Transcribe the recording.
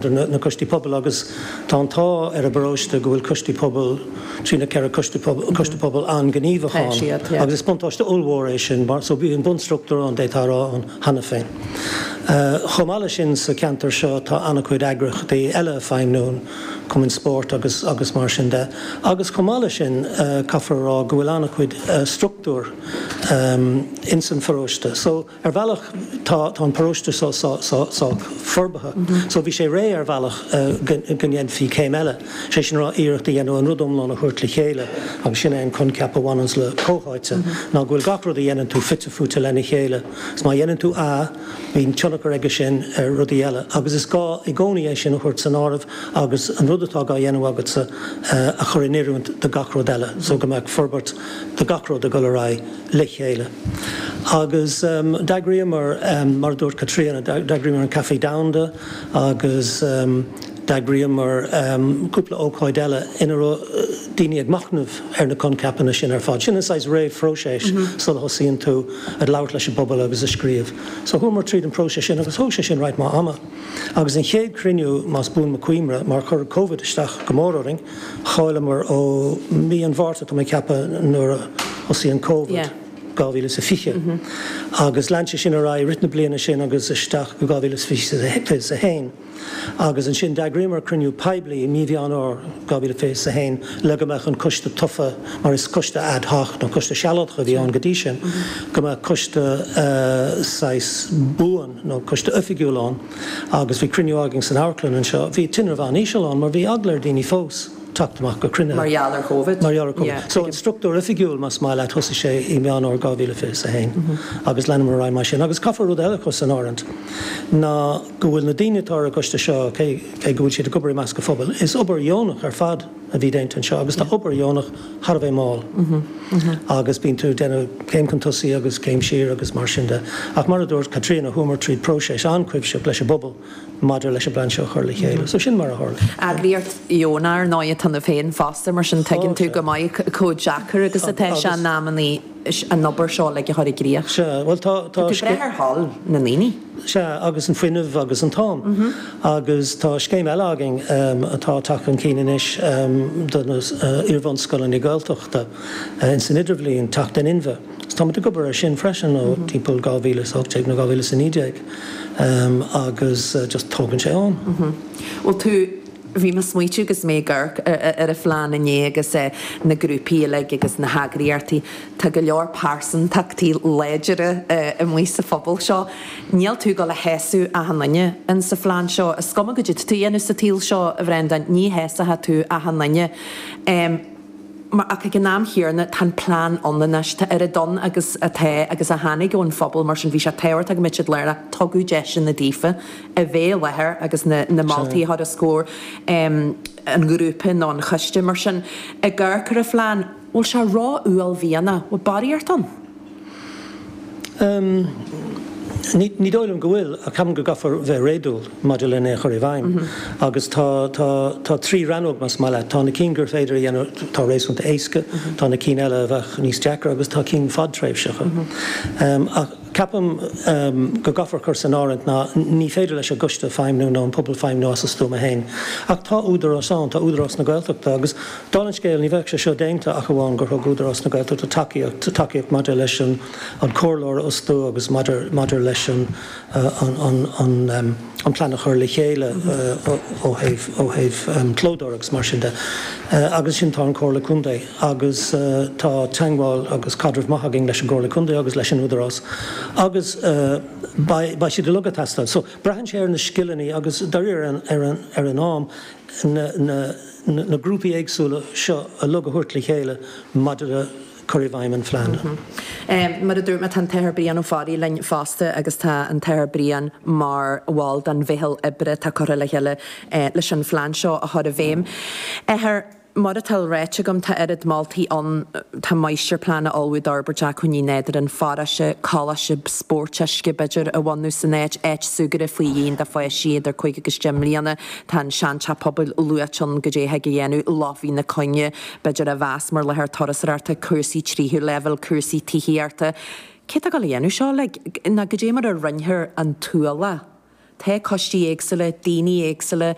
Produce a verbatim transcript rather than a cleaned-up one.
Na, na coistí pobail agus tá an t-ádh ar an bparóiste go bhfuil coistí pobail trí na ceithre coiste pobail coiste pobail an-ghníomhach ann agus is buntáiste ollmhór é sin mar so bíonn bunstruchtúr ann d'fhéadfá a rá ann cheana féin. Chomh maith leis sin sa cheantar seo tá an-chuid eagraíochtaí eile ag feidhmiú, cumainn spóirt agus agus mar sin de. Agus chomh maith leis sin caithfear a rá go bhfuil an-chuid struchtúr ins an pharóiste. So ar bhealach tá tá an paróiste seo sách forbartha. So bhí sé réidh ar bhealach go ndéanfaí céim eile, sé sin rá iarracht a dhéanamh an rud iomlán a thabhairt le chéile agus sin é an coincheap a bhaineanns le comhtháite ná go bhfuil gach rud a dhéanann tú fite fuaite lena chéile. Is má dhéanann tú A, bíonn tionchar aige sin ar rudaí eile agus is gá i gcónaí é sin a thabhairt san áireamh agus an rud atá á dhéanamh agatsa a chur in oiriúint do gach rud eile so go mbeadh forbairt do gach rud ag dul ar aghaidh le chéile. Agus d'eagraíomar, mar a dúirt Caitríona, d'eagraíomar an Caife Domhanda agus d'eagraíomar cúpla ócáid eile ina raibh daoine ag machnamh ar na coincheapanna sin ar fad. Sin an saghas réamhphróiseas sula thosaíonn tú ag labhairt leis an bpobal agus ag scríobh. So chuamar tríd an próiseas sin agus thóg sé sin roinnt mhaith ama. Agus an chéad chruinniú, más buan mo chuimhne, mar chuir Covid isteach go mór orainn, chailleamar ó mí an Mhárta, tá mé ag ceapadh, nuair a thosaigh an Covid. dhá mhíle is a fiche agus lean sé sin ar aghaidh i rith na bliana sin agus isteach go dhá mhíle is fiche is a haon agus ansin d'eagraíomar cruinniú poiblí i mí Mheán Fhómhair dhá mhíle fiche is a haon le go mbeadh an coiste tofa mar is coiste ad hoc nó coiste sealadach a bhí ann go dtí sin go mbeadh coiste saghas buan nó coiste oifigiúil ann agus bhí cruinniú againn san amharclann anseo. Bhí tinreamh an-íseal ann mar bhí eagla ar dhaoine fós. teacht amach go cruinnithe. Mar gheall ar Covid. Mar gheall ar Covid. So an struchtúr oifigiúil, más maith leat, thosaigh sé i Meán Fhómhair dhá mhíle fiche is a haon agus leanamar ar aghaidh mar sin. Agus caithfear rud eile a chur san áireamh ná go bhfuil na daoine atá ar an gcoiste seo, cé cé go bhfuil siad ag obair i measc an phobail, is obair dheonach ar fad a bhí déanta anseo agus tá obair dheonach thar a bheith mall agus bíonn tú ag déanamh céim chun tosaigh agus céim siar agus mar sin de. Ach mar a dúirt Caitríona, chuamar tríd próiseas an-chuimsitheach leis an bpobal maidir leis an bplean seo a chur le chéile. So sin mar a tharla. Eagraíocht dheonach ar ndóigh atá ionat féin fosta, mar sin tuigeann tú go maith chomh deacair agus atá sé in amannaí an obair seo uilig a chur i gcrích. Sea, bhuel tá, tá. Tá tú ag brath ar thoil na ndaoine. Sea, agus an fuinneamh agus an t-am. Agus tá scéim eile againn atá ag teacht chun cinn anois do na iarbhunscoileanna Gaeltachta ins an Idirbhliain, Teacht in Inmhe. Agus táimid ag obair air sin freisin ó timpeall dhá mhíle is a hocht déag nó dhá mhíle is a naoi déag agus just tógann sé am. Bhfuil tú, bhí mé ag smaoitiú agus mé ag amharc ar an phlean inné agus na grúpaí uilig agus na heagraíochtaí, tá go leor pearsantachtaí láidire amuigh sa phobal seo. Níl tú ag dul a shásamh achan duine in sa phlean seo. Is cuma goidé atá tú a dhéanamh sa tsaol seo, a Bhreandáin, ní shásóidh tú achan duine. Ach ag an am chéanna, tá an plean ann anois. Tá oiread ann agus atá agus a tháinig ón phobal, mar sin bhí sé tábhachtach go mbeadh siad lárnach. Tugadh deiseanna daofa a bheith i láthair agus na na moltaí a chur os comhair an ghrúpa nó an choiste. Mar sin, ag amharc ar an phlean, bhfuil sé ró-uaillmhianach? Bhfuil barraíocht ann? Ní dóigh liom go bhfuil, ach ceapaim go gcaithfear bheith réadúil maidir lena chur i bhfeidhm. Agus tá, tá, tá trí rannóg, más maith leat. Tá na cinn gur féidir a dhéanamh atá réasúnta éasca, tá na cinn eile a bheadh níos deacra agus tá cinn fadtréimhseacha. Ach ceapaim go gcaithfear cur san áireamh ná ní féidir leis an gcoiste feidhmiú nó an pobal feidhmiú as a stuama féin. Ach tá údarás ann, tá Údarás na Gaeltachta agus dála an scéil ní bheadh sé seo déanta ach amháin gur thug Údarás na Gaeltachta tacaíocht, tacaíocht maidir leis an an comhairleoir a fhostú agus maidir maidir leis an an an an plean a chur le chéile ó thaobh ó thaobh clódóir agus mar sin de. Agus ansin tá an Comhairle Contae agus tá teagmháil agus caidreamh maith againn leis an gComhairle Contae agus leis an Údarás agus beidh beidh siad uilig ag teastáil. So braitheann sé ar na scileanna agus dáiríre ar an ar an ar an am na na na grúpaí éagsúla seo uilig a thabhairt le chéile maidir le cur i bhfeidhm an phlean. Mar a dúirt mé, tá an tAthair Brian Ó Fearraigh linn fosta agus tá an tAthair Brian mar bhall den mheitheal oibre atá curtha le chéile leis an phlean seo a chur i bhfeidhm. Athair, mar atá ráite agam, tá oiread moltaí ann, tá máistirphlean a ullmhú d'fhorbairt acmhainní nádúrtha an pharóiste, coláiste spóirt uisce b'fhéidir a bhunú san áit, áit súgartha faoi dhíon do pháistí idir cúig agus deich mbliana, tá an seanteach pobail luaite ann goidé a thig a dhéanamh, Loch Mhín na Cuinge, b'fhéidir a mheas mar láthair turasóireachta, cúrsaí tríú leibhéal, cúrsaí tithíochta. Cé atá ag dul a dhéanamh seo uilig? Nó goidé mar a roinnfear an t-ualach Tá coistí éagsúla, daoine éagsúla,